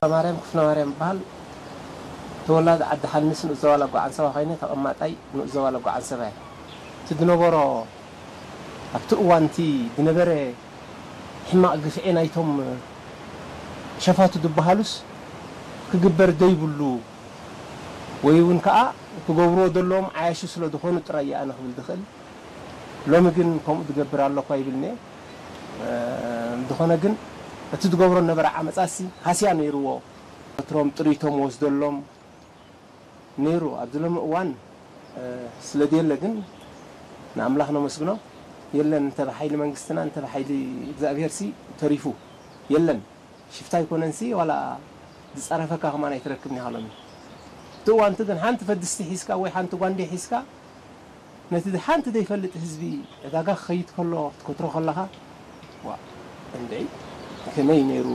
ማርያም ክፍለ ማርያም ይበሃል። ተወላዲ ዓዲ ሓንስ ንኡስ ዞባ ለጓ ዓንሰባ ኮይነ ተቐማጣይ ንኡስ ዞባ ለጓ ዓንሰባ እየ። እቲ ዝነበሮ ኣብቲ እዋን እቲ ዝነበረ ሕማቕ ግፍዒ ናይቶም ሸፋቱ ዝበሃሉስ ክግበር ዘይብሉ ወይ እውን ከዓ ክገብርዎ ዘለዎም ዓያሹ ስለ ዝኾኑ ጥራይ እየ ኣነ ክብል ዝኽእል። ሎሚ ግን ከምኡ ዝገብር ኣሎ እኳ ይብልኒ። እንተኾነ ግን እቲ ዝገብሮ ነበረ ዓመፃሲ ሃስያ ነይርዎ። ወትሮም ጥሪቶም ወስደሎም ነይሩ። ኣብዚ ሎሚ እዋን ስለ ዘየለ ግን ንኣምላኽ ነመስግኖ። የለን እንተ ብሓይሊ መንግስትና እንተ ብሓይሊ እግዚኣብሄርሲ ተሪፉ የለን። ሽፍታ ኣይኮነንሲ ዋላ ዝፀረፈካ ከማን ኣይትረክብን ኢኻ ሎሚ። እቲ እዋንቲ ግን ሓንቲ ፈድስቲ ሒዝካ ወይ ሓንቲ ጓንዴ ሒዝካ ነቲ ሓንቲ ዘይፈልጥ ህዝቢ ዕዳጋ ክኸይድ ከሎ ክትከትሮ ከለኻ ዋ እንድዒ ከመይ ነይሩ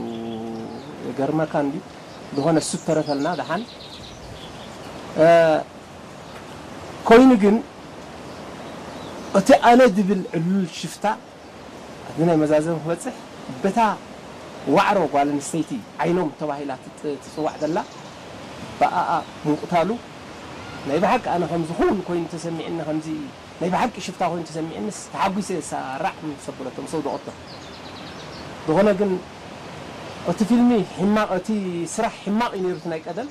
ይገርመካ እንዲ ዝኾነ እሱ ተረፈልና ደሓን ኮይኑ ግን እቲ ኣነ ዝብል ዕሉል ሽፍታ ኣብዚ ናይ መዛዘም ክበፅሕ በታ ዋዕሮ ጓል ኣንስተይቲ ዓይኖም ተባሂላ ትፅዋዕ ዘላ ብኣኣ ምንቁታሉ ናይ ብሓቂ ኣነ ከምዚ ክውን ኮይኑ ተሰሚዕኒ ከምዚ ናይ ብሓቂ ሽፍታ ኮይኑ ተሰሚዕንስ ተሓጒሰ ሳራዕ ምስ ኣበለቶ ምስ ኣውደቐቶ ዝኾነ ግን እቲ ፊልሚ ሕማቕ እቲ ስራሕ ሕማቕ እዩ ነይሩ እቲ ናይ ቀደም